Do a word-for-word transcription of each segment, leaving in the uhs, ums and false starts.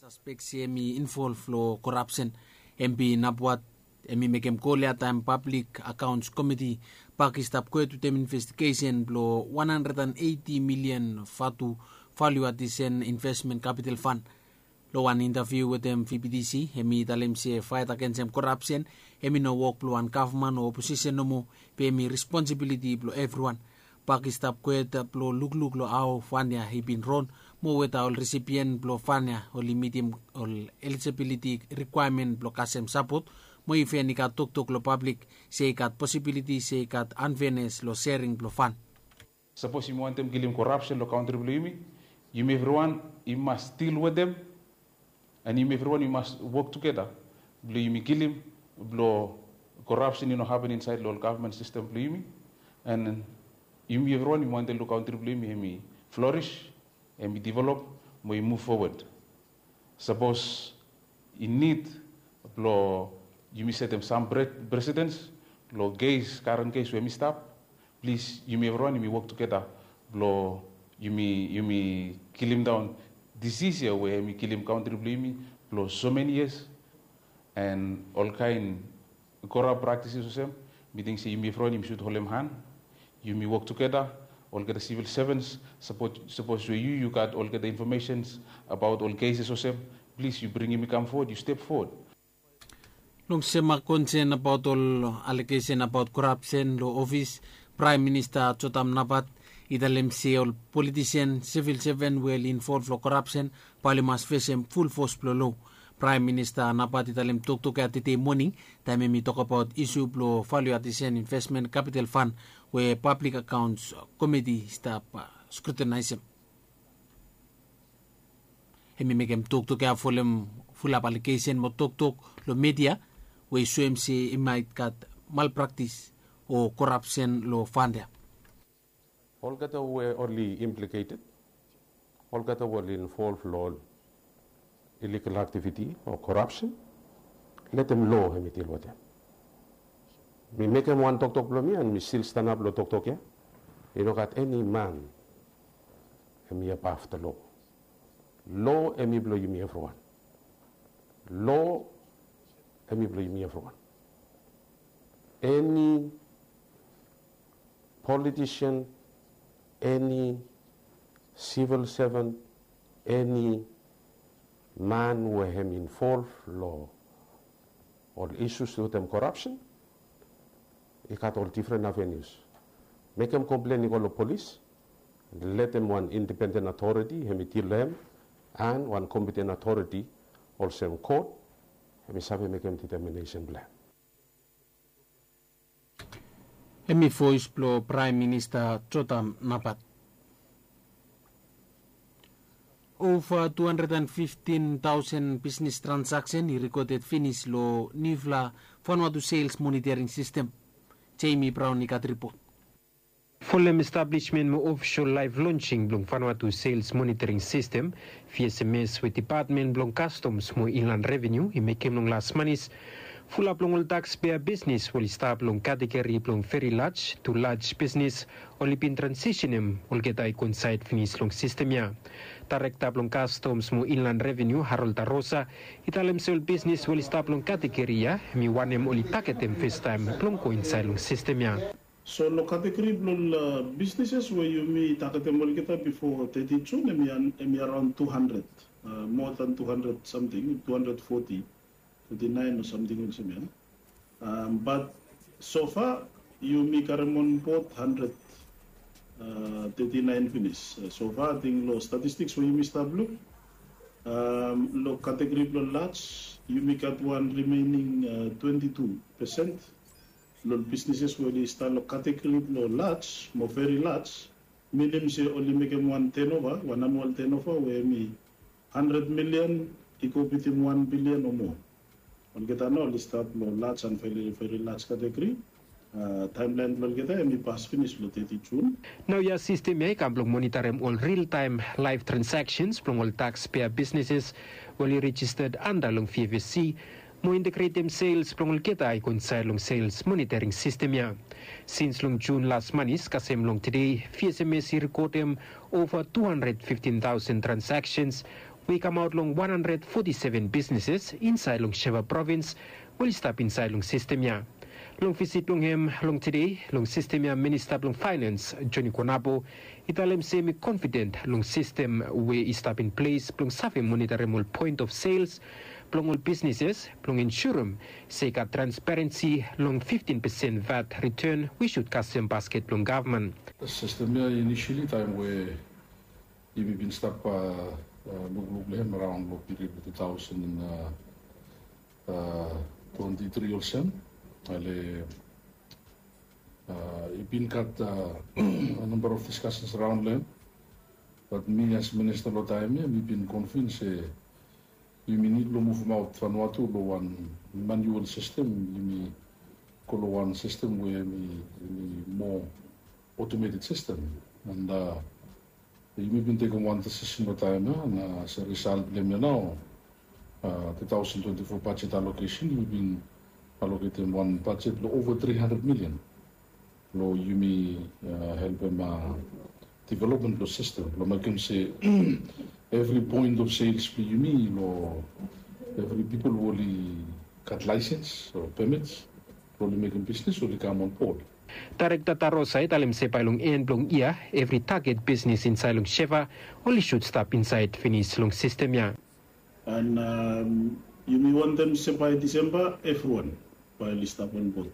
Saspek se hem i involv long korapsen. Hem bin apwat hem i mekem kol ya taem pablik akaons komiti bak i stap kwet wetem investigesen blong wan handred an eiti milian vatu valu adisen invesmen kapital fan. Long wan intaviu wetem vptc hem i talem se faet agensem korapsen hem i no wok blong wan gavman o oposisen nomo, be hem i responsibiliti blong evriwan. Bak i stap kwet blong lukluk long hao fan ya i bin ron, mo weta ol resipien blong fan ya oli mitim ol elijibiliti rikwaemen blong kasem sapot, mo iven i gat toktok long pablik se i gat posibiliti se i gat anfenes long sering blong fan. Sapos yumi wantem kilim korapsen long kantri blong yumi, yumi evriwan i mas dil wetem, an yumi evriwan i mas wok tugeta blong yumi kilim blong korapsen i no hapen insaed long ol gavman sistem blong yumi. An yumi evriwan yumi wantem long kantri blong yumi hem i floris, hem i develop, mo i muv fowad. Sapos i nid blong yumi setem sam presedens long kes, karen kes we hem i stap, plis yumi evriwan yumi wok tugeta blong yumi yumi kilimdaon disis ya we hem i kilim kantri blong yumi blong so meni yias. An olkaen korap praktisis olsem, mi ting se yumi evriwan yumi sud holem han, yumi wok tugeta, olgeta sivil sevens. Sapos we yu yu gat olgeta infomesens abaot ol keses olsem, plis yu bringim i kam fowad, yu step fowad. Long sem a konsen abaot ol alegesen abaot korapsen long ofis, Praem Minista Jotam Nabat i talem se ol politisen, sivil seven we oli involv long korapsen bae oli mas fesem fulfos blong lo. Praem Minista Nabat i talem toktok ya tede moning taem hem i tokbaot isu blong valu adisen invesmen kapital fan we pablik akaons komiti i stap skrutinaesem. Hem i mekem toktok ya folem fulap alegesen mo toktok long media we i soem se i maet gat malpraktis o korapsen long fan ya. Olgeta we oli impliketed, olgeta we oli involv long ol iligal aktiviti o korapsen, letem lo hem i dil wetem. Mi mekem wan toktok blong mi an mi stil stanap long toktok ya. I no gat eni man hem i abaf long lo. Lo hem i blong yumi evriwan. Lo hem i blong yumi evriwan. Eni politisen, eni sivil seven, eni man we hem i involv long ol isus wetem korapsen, i gat ol difren avenius. Mekem komplen i go long polis, letem wan indipenden atoriti hem i dil long hem, an wan kompiten atoriti olsem kot hem i save mekem diteminesen blong hem. Hem i voes blong Praem Minista Jotam Nabat. Ova tu handred an fiftin taosen bisnis transaksen i rekoded finis long niufala Vanuatu Sales Monitoring Sistem. Jamie Brown i gat ripot. Folem establismen mo ofisol laef lonsing blong Vanuatu Sales Monitoring Sistem, vsms, we Depatmen blong Kastoms mo Inlan Reveniu i mekem long las manis, fulap long ol takspea bisnis we oli stap long kategori blong veri laj tu laj bisnis oli bin transisenem olgeta i go insaed finis long sistem ya. Daerekta blong Kastoms mo Inlan Reveniu, Harold Arosa, i talem se ol bisnis we oli stap long kategori ya hem i wanem oli tagetem festaem blong go insaed long sistem ya. So long kategori blong ol bisnises we yumi tagetem olgeta bifo teti Jun hem i araon tu handred, moa dan tu handred samting, tu handred foti, teti naen o samting olsem ya. Bat sofa yumi karem onbod handred teti naen finis. Sofa ating long statistiks we yumi stap luk, long kategori blong laj yumi gat wan rimening twenti tu pesen long ol bisnises we oli stap long kategori blong laj mo veri laj, minim se oli mekem wan tenova, wan anual tenova we hem i handred milian i go bitim wan bilian o moa. Olgeta nao oli stap long laj an veri veri laj kategori. Taemlaen blong olgeta hem i pas finis long teti Jun. Naoia sistem ya i kam blong monitarem ol riltaem laef transaksens blong ol takspea bisnises we oli rejistad anda long vfsc mo integretem sels blong olgeta i go insaed long sels monitaring sistem ya. Sins long Jun las manis kasem long tede, vsms i rekodem ova tu handred fiftin taosen transaksens We i kamaot long wan handred foti seven bisneses insaed long Sheva provins we oli stap insaed long sistem ya. Long visit blong hem long tede long sistem ya, Minista blong Faenans Joni Konapo i talem se hem i konfiden long sistem we i stap in ples blong save monitorim ol poen of sels blong ol bisneses blong insurem se i gat transparensi long fiftin pesen vat riten we i sud kasem basket blong gavman. Sistem ya inisili taem we yumi bin stap lukluk long hem araon long piriod blong tu taosen twenti tri olsem. Ale i bin gat namba of diskasens araon long hem. Bat mi as minista long taem ya mi bin konvins se yumi nid blong muvumaot Vanuatu long wan manual sistem. Yumi go long wan sistem we yumi moa otometed sistem. And yumi bin tekem wan disisen long taem ya na as a risalt blong hem ya nao tu taosen twenti fo bajet alokesen yumi bin aloketem wan bajet blong ova tri handred milian blong yumi helpem developmen blong sistem blong mekem se evri poen of sels blong yumi long evri pipol we oli gat laesens o pemits blong oli mekem bisnes oli kam on bod. Daerekta Tarosa i talem se bae long en blong yia evri taget bisnes insaed long Sheva oli sud stap insaed finis long sistem ya. And yumi wantem se bae Disemba evriwan bae oli stap on bod,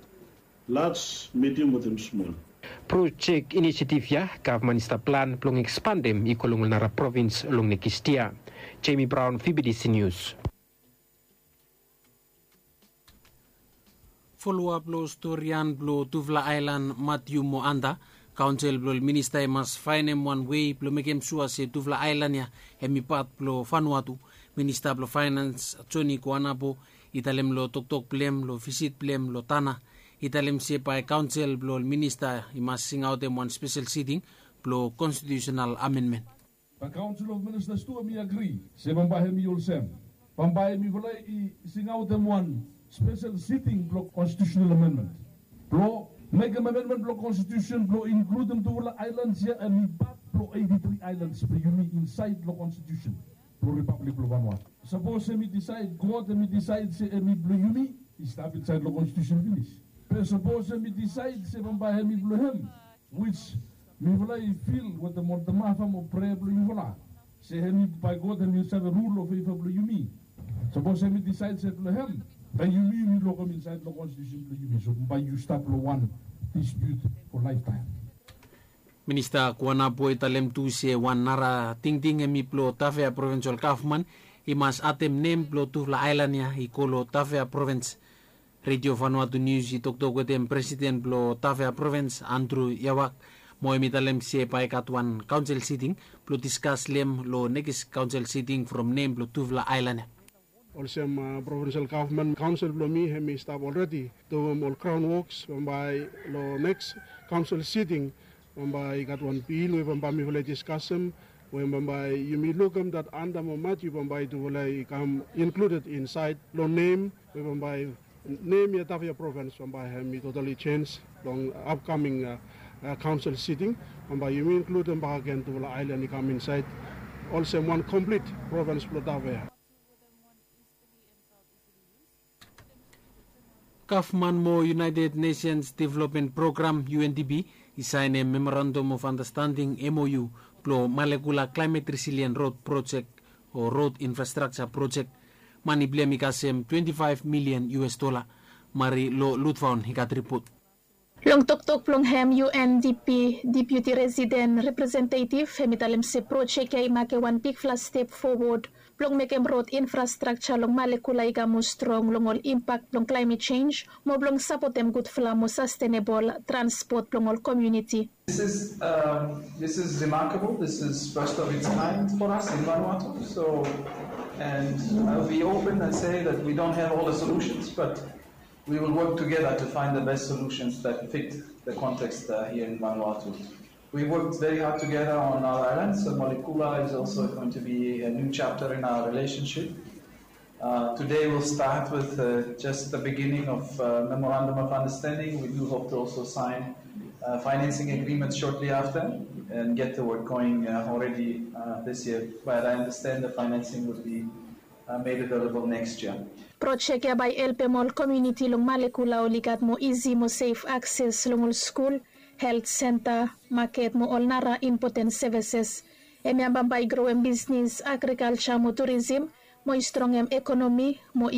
laj, medium wetem smol. Projek inisiativ ya gavman i stap plan blong ekspandem i go long ol nara provins long nekis yia. Jemi Braon, V B D C Nius. Foloap long storian blong tufala aelan Matiu mo Anda, kaonsel blong ol minista i mas faenem wan wei blong mekem sua se tufala aelan ya hem i pat blong Vanuatu. Minista blong faenans Joni Koanapo i talem long toktok blong hem long visit blong hem long Tana, i talem se bae kaonsel blong ol minista i mas singaotem wan spesel siting blong konstitiusenal amenmen. Bae kaonsel of ministas tu hem i agri se bambae hem i olsem, bambae mifala i singaotem wan spesel siting blong konstitiusenal amenmen blong mekem amenmen blong konstitiusen blong inkludim tufala aelans ya hem i pat blong eiti tri aelans blong yumi insaed long konstitiusen blong Ripablik blong Vanuatu. Sapos hem i disaed, God hem i disaed se hem i blong yumi, i stap insaed long konstitiusen finis. Be sapos hem i disaed se bambae hem i blong hem, wis mifala i fil wetem ol tamafa mo prea blong yufala se hem i bae God hem i save rul long feva blong yumi. Sapos hem i disaed se blong hem, bae yumi yumi lokem insaed long konstitiusen blong yumi, so bae yu stap long wan dispiut fo laeftaem. Minista Kuanapo i talem tu se wan nara tingting hem i blong Tafea Provins ol gavman i mas adem nem blong tufala aelan ya i go long Tafea Provins. Redio Vanuatu Nius i toktok wetem presiden blong Tafea Provins, Andru Yawak, mo hem i talem se bae i gat wan kaonsel siting blong diskas long hem long nekis kaonsel siting from nem blong tufala aelan ya. Olsem provinsel gavman, kaonsel blong mi hem i stap olredi duim ol graon woks bambae long neks kaonsel siting bambae i gat wan bil we bambae mifala i diskasem we bambae yumi lukim dat Anda mo Matiu bambae tufala i kam inkluded insaed long nem we bambae nem ya Tafea provins bambae hem i totali jenj long apkaming kaonsel siting. Bambae yumi inkludim bakegen tufala aelan i kam insaed olsem wan komplit provins blong Tafea. Gavman mo United Nations Development Program, U N D P, i saenem Memorandum of Understanding, M O U, blong Malekula Climate Resilient Road Project o Road Infrastructure Project. Mane blong hem i kasem twenti faef milian U S dola. Mari Lo Lutfaon i gat ripot. Long toktok blong hem, U N D P Deputi Residen Representetiv hem i talem se projek ya i makem wan bigfala step fowod blong mekem rod infrastrakja long Malekula i kam moa strong long ol impak blong klaemet jenj mo blong sapotem gudfala mo sastenebol transpot blong ol komuniti. This is, um, this is remarkable. This is first of its kind for us in Vanuatu. So, and I'll be open and say that we don't have all the solutions, but we will work together to find the best solutions that fit the context, uh, here in Vanuatu. We worked very hard together on our islands, so Malekula is also going to be a new chapter in our relationship. Uh, today we'll start with, uh, just the beginning of, uh, memorandum of understanding. We do hope to also sign uh, financing agreement shortly after and get the work going uh, already uh, this year. But I understand the financing would be uh, made available next year. Projek ya bae helpem ol komiuniti long Malekula oli gat moa isi mo sef akses long ol skul, helt senta, maket mo ol nara impoten sevises. Hemia bambae i growem bisnis, agrikalja mo turisim, mo i strongem ekonomi, mo i